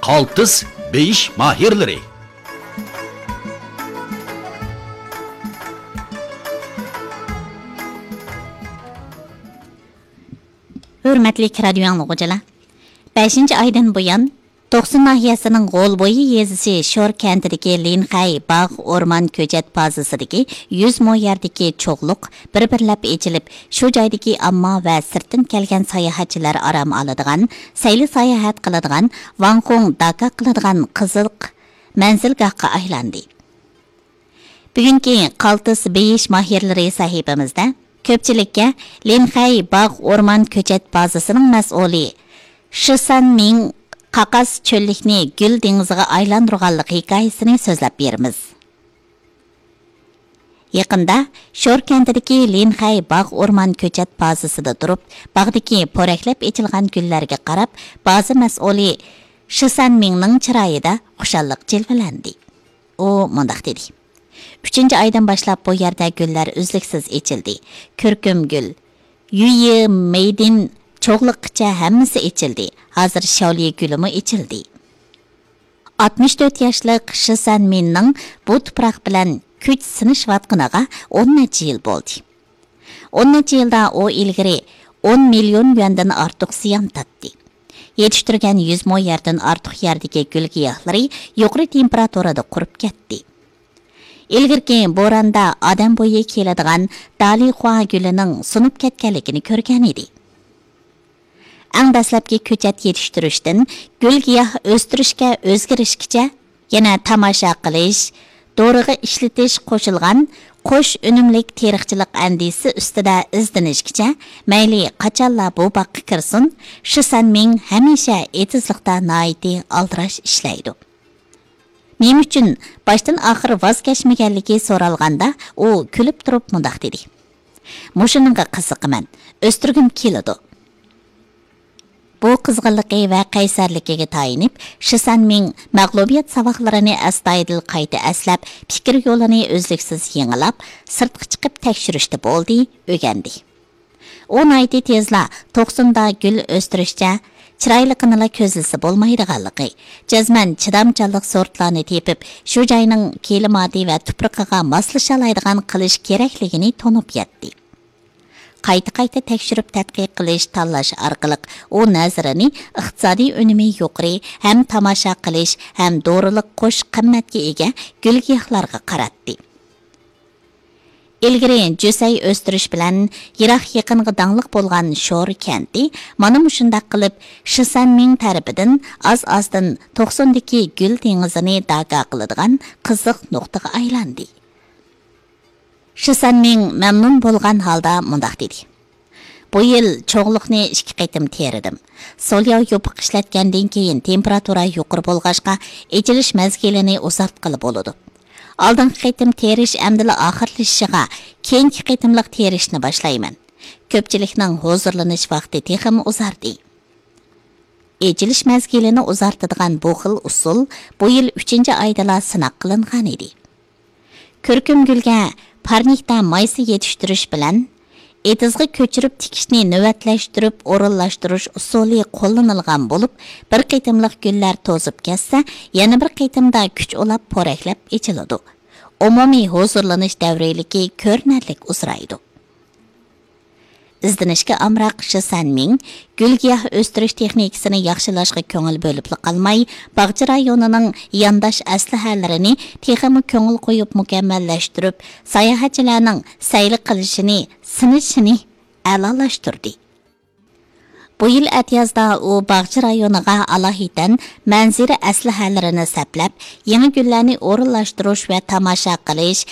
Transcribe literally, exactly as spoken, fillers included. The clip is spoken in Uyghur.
قالتىس بېيىش ماھىرلىرى. ھۆرمەتلىك رادىيو ئاڭلىغۇچىلار، بەشىنچى ئايدىن بۇيان، توقسۇن ناھىيەسىنىڭ غولبويى يېزىسى شور كەنتىدىكى لىنخەي باغ ئورمان كۆچەت بازىسىدىكى يۈز مو يەردىكى چوغلۇق بىر-بىرلەپ ئېچىلىپ، شۇ جايدىكى ئامما ۋە سىرتتىن كەلگەن ساياھەتچىلەر ئارام ئالىدىغان، سەيلە-ساياھەت قىلىدىغان ۋاڭخۇڭ داكا قىلىدىغان قىزىق مەنزىلگاھقا ئايلاندى. بۈگۈنكى قالتىس بېيىش ماھىرلىرى سەھىپىمىزدە كۆپچىلىككە لىنخەي باغ ئورمان كۆچەت بازىسىنىڭ مەسئۇلى شىسەن مىڭ قاقاس چۆللۈكنى گۈل دېڭىزىغا ئايلاندۇرغانلىق ھېكايىسىنى سۆزلەپ بېرىمىز. يېقىندا شور كەنتىدىكى لىنخەي باغ ئورمان كۆچەت بازىسىدا تۇرۇپ، باغدىكى پورەكلەپ ئېچىلغان گۈللەرگە قاراپ، بازا مەسئۇلى شىسەن مىڭنىڭ چىرايىدا خۇشاللىق جىلۋىلەندى. ئۇ مۇنداق دېدى: «ئۈچىنچى ئايدىن باشلاپ بۇ يەردە گۈللەر ئۈزلۈكسىز ئېچىلدى. كۈركۈم گۈل، يۈيى مېيدىن چوغلۇققىچە ھەممىسى ئېچىلدى. ھازىر شاۋلى گۈلىمۇ ئېچىلدى.» ئاتمىش تۆت ياشلىق شىسەن مىننىڭ بۇ تۇپراق بىلەن كۈچ سىنىشىۋاتقىنىغا ئون نەچچە يىل بولدى. ئون نەچچە يىلدا ئۇ ئىلگىرى ئون مىليون يۈەندىن ئارتۇق زىيان تارتتى. يېتىشتۈرگەن يۈز مو يەردىن ئارتۇق يەردىكى گۈل-گىياھلىرى يۇقىرى تېمپېراتۇرىدا قۇرۇپ كەتتى. ئىلگىرىكى بوراندا ئادەم بويى كېلىدىغان دالىخۇا گۈلىنىڭ سۇنۇپ كەتكەنلىكىنى كۆرگەن ئىدى. ئەڭ دەسلەپكى كۆچەت يېتىشتۈرۈشتىن گۈل-گىياھ ئۆستۈرۈشكە ئۆزگىرىشكىچە، يەنە تاماشا قىلىش، دورىغا ئىشلىتىش قوشۇلغان قوش ئۈنۈملۈك تېرىقچىلىق ئەندىزىسى ئۈستىدە ئىزدىنىشكىچە، مەيلى قاچانلا بۇ باغقا كىرسۇن، شىسەنمىڭ ھەمىشە ئېتىزلىقتا ناھايىتى ئالدىراش ئىشلەيدۇ. نېمە ئۈچۈن باشتىن ئاخىر ۋاز كەچمىگەنلىكى سورالغاندا، ئۇ كۈلۈپ تۇرۇپ مۇنداق دېدى: «مۇشۇنىڭغا قىزىقىمەن، ئۆستۈرگۈم كېلىدۇ.» بۇ قىزغىنلىقى ۋە قەيسەرلىكىگە تايىنىپ، شىسەنمىڭ مەغلۇبىيەت ساۋاقلىرىنى ئەستايىدىل قايتا ئەسلەپ، پىكىر يولىنى ئۈزلۈكسىز يېڭىلاپ، سىرتقا چىقىپ تەكشۈرۈشتە بولدى، ئۆگەندى. ئۇ ناھايىتى تېزلا توقسۇندا گۈل ئۆستۈرۈشچە چىرايلىقىنىلا كۆزلىسە بولمايدىغانلىقى، جەزمەن چىدامچانلىق سورتلارنى تېپىپ، شۇ جاينىڭ كىلىماتى ۋە تۇپرىقىغا ماسلىشالايدىغان قىلىش كېرەكلىكىنى تونۇپ يەتتى. قايتا-قايتا تەكشۈرۈپ تەتقىق قىلىش، تاللاش ئارقىلىق ئۇ نەزىرىنى ئىقتىسادىي ئۈنۈمى يۇقىرى، ھەم تاماشا قىلىش، ھەم دورىلىق قوش قىممەتكە ئىگە گۈل-گىياھلارغا قاراتتى. ئىلگىرى جۈسەي ئۆستۈرۈش بىلەن يىراق-يېقىنغا داڭلىق بولغان شور كەنتى مانا مۇشۇنداق قىلىپ شىسەنمىڭ تەرىپىدىن ئاز-ئازدىن توقسۇندىكى گۈل دېڭىزىنى داكا قىلىدىغان قىزىق نۇقتىغا ئايلاندى. شىسەنمىڭ مەمنۇن بولغان ھالدا مۇنداق دېدى: «بۇ يىل چوغلۇقنى ئىككى قېتىم تېرىدىم. سولياۋ يوپۇق ئىشلەتكەندىن كېيىن تېمپېراتۇرا يۇقىرى بولغاچقا، ئېچىلىش مەزگىلىنى ئۇزارتقىلى بولىدۇ. ئالدىنقى قېتىم تېرىش ئەمدىلا ئاخىرلىشىشىغا، كېيىنكى قېتىملىق تېرىشنى باشلايمەن.» كۆپچىلىكنىڭ ھۇزۇرلىنىش ۋاقتى تېخىمۇ ئۇزاردى. ئېچىلىش مەزگىلىنى ئۇزارتىدىغان بۇ خىل ئۇسۇل بۇ يىل ئۈچىنچى ئايدىلا سىناق قىلىنغانىدى. كۈركۈمگۈلگە پارنىكتا مايسا يېتىشتۈرۈش بىلەن ئېتىزغا كۆچۈرۈپ تىكىشنى نۆۋەتلەشتۈرۈپ ئورۇنلاشتۇرۇش ئۇسۇلى قوللىنىلغان بولۇپ، بىر قېتىملىق گۈللەر توزۇپ كەتسە، يەنە بىر قېتىمدا كۈچ ئۇلاپ پورەكلەپ ئېچىلىدۇ. ئومۇمىي ھۇزۇرلىنىش دەۋرىيلىكى كۆرۈنەرلىك ئۇزىرايدۇ. ئىزدىنىشكە ئامراق شى سەنمىڭ گۈل-گىياھ ئۆستۈرۈش تېخنىكىسىنى ياخشىلاشقا كۆڭۈل بۆلۈپلا قالماي، باغچە رايونىنىڭ يانداش ئەسلىھەلىرىنى تېخىمۇ كۆڭۈل قويۇپ مۇكەممەللەشتۈرۈپ، ساياھەتچىلەرنىڭ سەيلە قىلىشىنى، سىنىشىنى ئەلالاشتۇردى. بۇ يىل ئەتىيازدا ئۇ باغچە رايونىغا ئالاھىدەن مەنزىرە ئەسلىھەلىرىنى سەپلەپ، يېڭى گۈللەرنى ئورۇنلاشتۇرۇش ۋە تاماشا قىلىش